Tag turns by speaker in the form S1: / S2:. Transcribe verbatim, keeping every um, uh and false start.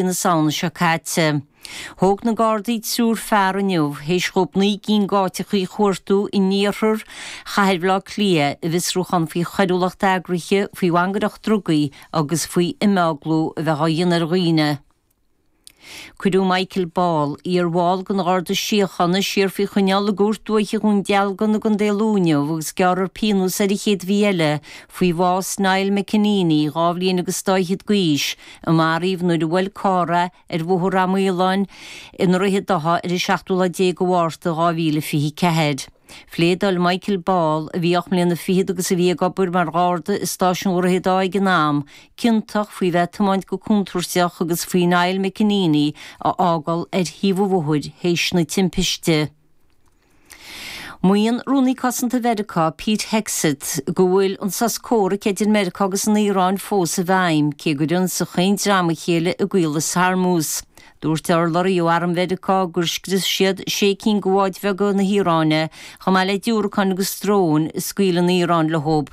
S1: na Samhna seo caite. Thóg na Gardaí triúr fear inniu théis dóibh naoi gcinn d'áiteachaí a chuartú in iarthar chathair Bhaile Átha Cliath i bhfiosrúchán faoi choiriúlacht eagraithe, faoi mhangaireacht drugaí agus faoi imeaglú a bheith á dhéanamh ar dhaoine. Cuireadh Michael Ball, iarbhall den Gharda Síochána, siar faoi choinneáil i gCúirt Dúiche Dhún Dealgan i gContae Lú inniu agus gearrfar pionós air an chéad mhí eile faoi bhás Niall McEneaney, dhá bhliain agus dá fhichead d'aois, a maraíodh nuair a bhuail carr é ar Bhóthar Ráth Maoláin i nDroichead Átha ar an seachtú lá déag de Mhárta dhá mhíle fiche ceathair. Phléadáil Michael Ball, a bhí ocht mbliana fichead agus a bhí ag obair mar gharda i stáisiún Dhroichead Átha ag an am, ciontach faoi bheith ag tiomáint go contúirteach agus faoi Niall McEneaney a fhágáil ar thaobh an bhóthair théis na timpiste. Maíonn Rúnaí Cosanta Mheiriceá Pete Hegseth go bhfuil an sos comhraic idir Meiriceá agus an Iaráin fós i bhfeidhm, cé gur ionsaigh chaon dream a chéile i gCaolas Hormuz. Dúirt urlabhraí ó Arm Mheiriceá gur scrios siad sé cinn de bháid bheaga na hIaráine, chomh maith le diúracáin agus dróin a scaoil an Iaráin leo.